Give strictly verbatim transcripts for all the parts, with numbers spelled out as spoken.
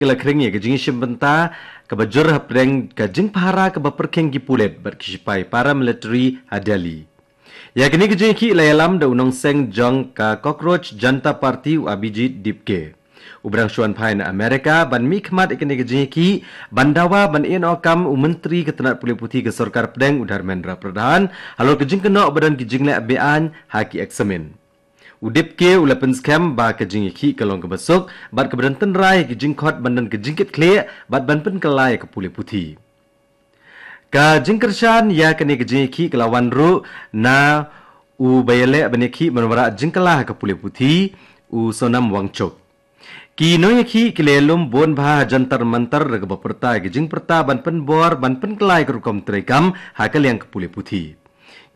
ka la khring ïa ka jingïashim bynta kaba jur hapdeng ka jingpahara kaba pyrkhing ki pulit bad ki shipai paramilitary ha Delhi. Ïa kane ka jingïakhih la ïalam da u nongseng jong ka Cockroach Janta Party, u Abhijit Dipke. U ba dang shu wan phai na America ban mihkhmat ïa kane ka jingïakhih, ban dawa ban ïehnoh kam u Myntri ka tnat pule puthi ka Sorkar Pdeng, u Dharmendra Pradhan, halor ka jingkynnoh ba don ki jingleh be-aiñ ha ki eksamin. U Dipke u la pynskhem ba ka jingïakhih ka long kaba suk bad kaba don tynrai ha ki jingkhot ban don ka jingkitkhlieh bad ban pynkylla ïa ka pule puthi. Ka jingkyrshan ïa kane ka jingïakhih ka la wan ruh na u ba ïaleh ban ïakhih ban wanrah jingkylla ha ka pule puthi, u Sonam Wangchuk. Ki nongïakhih ki la ïalum bun bha ha Jantar Mantar da kaba pyrta ïa ka jingpyrta ban pynbor ban pynkylla ïa ka rukom treikam ha ka liang ka pule puthi.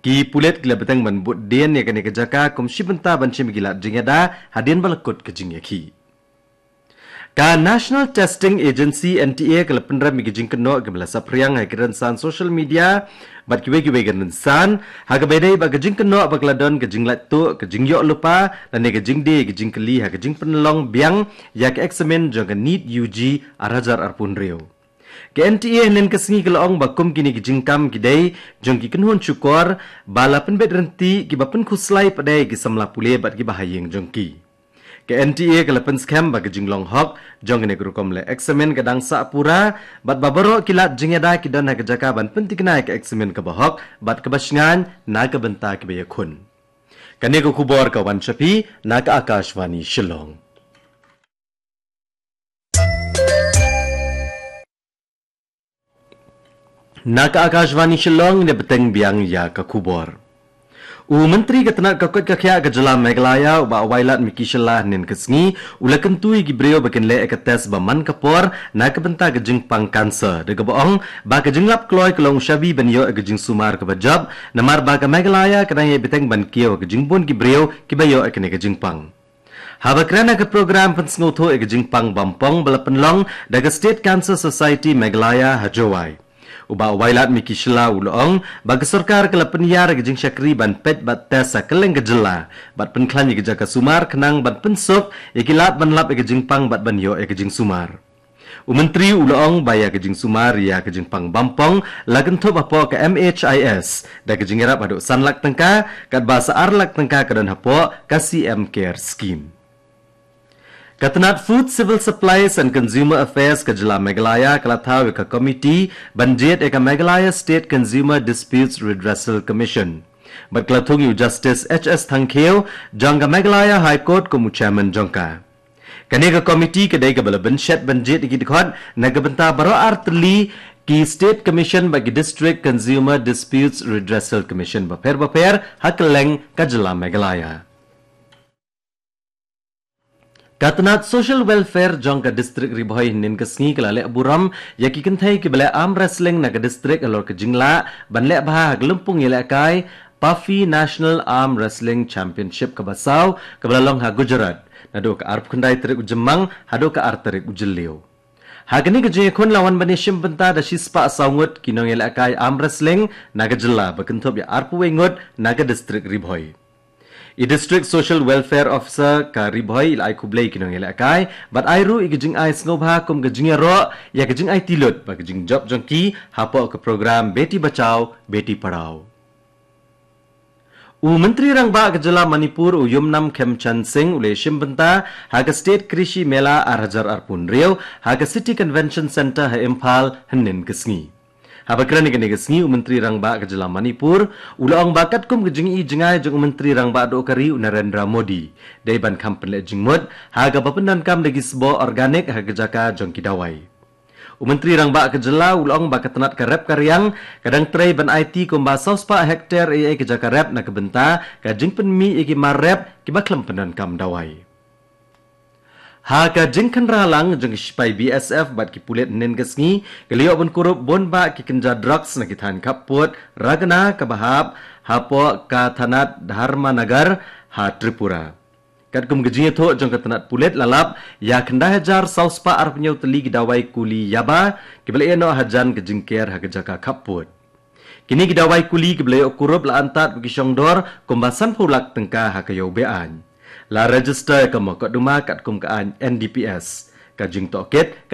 Ki pulit ki la bteng ban bud dien ïa kane ka jaka kum shi bynta ban shim ïa ki lad jingïada hadien ba la kut ka jingïakhih. Ka National Testing Agency, N T A, ka la pynrem ïa ka jingkynnoh kaba la saphriang ha ki rynsan social media bad kiwei kiwei ki rynsan, ha kaba ïadei bad ka jingkynnoh ba ka la don ka jinglait tuh, ka jingïoh lypa lane ka jingdie ïa ka jingkylli ha ka jingpynlong biang ïa ka eksamin jong ka NEET U G ar hajar arphew hynriew. Ka N T A hynnin ka sngi ka la ong ba kum kine ki jingkam ki dei jong ki kynhun shukor ba la pynbeit ryntih, kiba pynkhuslai pat de ïa ki samla pule bad kiba ha ïing jong ki. Ka N T A ka la pynskhem ba ka jinglong hok jong kane ka rukom leh eksamin ka dang sah pura bad ba baroh ki lad jingïada ki don ha ka jaka ban pynthikna ïa ka eksamin kaba hok bad kaba shngaiñ na ka bynta kiba ïakhun. Kane ka khubor ka wan sha phi na ka Akashvani Shillong. Na ka Akashvani Shillong, ne bteng biang ïa ka khubor. U Myntri ka tnat ka koit ka khiah ka jylla Meghalaya, u Bah Wailadmiki Shylla, hynnin ka sngi u la kyntu ïa ki briew ba kin leh ïa ka test ba man ka por na ka bynta ka jingpang cancer, da kaba ong ba ka jinglap kloi ka long u shabi ban ïoh ïa ka jingsumar kaba jop, namar ba ka Meghalaya ka dang ïai bteng ban kiew ïa ka jingbun ki briew kiba ïoh ïa kane ka jingpang. Haba kren ha ka program pynsngewthuh ïa ka jingpang bampong ba la pynlong da ka State Cancer Society Meghalaya ha Jowai, u Bah Wailadmiki Shylla u la ong ba ka sorkar ka la pynïar ïa ka jingshakri ban peit bad test ha kylleng ka jylla bad pynkhlaiñ ïa ka jaka sumar khnang ban pynsuk ïa ki lad ban lap ïa ka jingpang bad ban ïoh ïa ka jingsumar. U Myntri u la ong ba ïa ka jingsumar ïa ka jingpang bampong la kynthup hapoh ka M H I S da ka jingïarap haduh san lak tyngka, katba sa ar lak tyngka ka don hapoh ka C M Care Scheme. Ka tnat Food, Civil Supplies and Consumer Affairs ka jylla Meghalaya ka la thaw ïa ka komiti ban jied ïa ka Meghalaya State Consumer Disputes Redressal Commission bad ka la thung ïa u Justice H S Thangkhiew jong ka Meghalaya High Court kum u chairman jong ka. Kane ka komiti ka dei kaba la bynshet ban jied ïa ki dkhot na ka bynta baroh ar tylli ki State Commission bad ki District Consumer Disputes Redressal Commission bapher bapher ha kylleng ka jylla Meghalaya. Ka tnat Social Welfare jong ka District Ri Bhoi hynnin ka sngi ka la leh burom ïa ki kynthei kiba leh arm wrestling na ka district halor ka jinglah ban leh bha ha ka lympung ïalehkai Pafi National Arm Wrestling Championship kaba saw kaba la long ha Gujarat naduh ka arphew khyndai tarik u Jymmang haduh ka ar tarik u Jylliew. Ha kane ka jingïakhun la wan ban ïashim bynta da shispah saw ngut ki nongïalehkai arm wrestling na ka jylla ba kynthup ïa arphew wei ngut na ka district Ri Bhoi. I District Social Welfare Officer ka Ri Bhoi i la ai khublei ki nongïalehkai bad ai ruh ïa ka jingai sngewbha kum ka jingïaroh ïa ka jingaiti lut bad ka jingjop jong ki hapoh ka program Beti Bachao Beti Padhao. U Myntri Rangbah ka jylla Manipur u Yumnam Khemchand Singh u la ïashim bynta ha ka State Krishi Mela ar hajar arphew hynriew ha ka City Convention Centre ha Imphal hynnin ka sngi. Haba kren ha kane ka sngi u Myntri Rangbah ka jylla Manipur u la ong ba katkum ka jingi jingai jong u Myntri Rangbah duh ka ri u Narendra Modi, dei ban kham pynleh jingmut ha kaba pyndonkam da ki sboh organic ha ka jaka jong ki dawai. U Myntri Rangbah ka jylla u la ong ba ka tnat ka rep ka riang ka dang trei ban aiti kumba saw spah hektar ei ei ka jaka rep na ka bynta ka jingpynmih ïa ki mar rep kiba khlem pyndonkam dawai. Ha ka jingkhynra lang jong ki shipai B S F bad ki pulit hynnin ka sngi, ki la ïoh ban kurup bun bah ki kynja drugs na ki thaiñ khappud Ragana kaba hap hapoh ka thanat Dharmanagar ha Tripura. Katkum ka jingïathuh jong ka tnat pulit la lap ïa khyndai hajar saw spah arphew hynñiew tylli ki dawai kuli yaba kiba la ïehnoh hajan ka jingker ha ka jaka khappud. Kine ki dawai kuli kiba la ïoh kurup la antad bad ki shongdor kumba sanphew lak tyngka ha ka ïew be-aiñ. La register ïa ka mukotduma katkum ka aiñ N D P S. Ka jingtohkit ka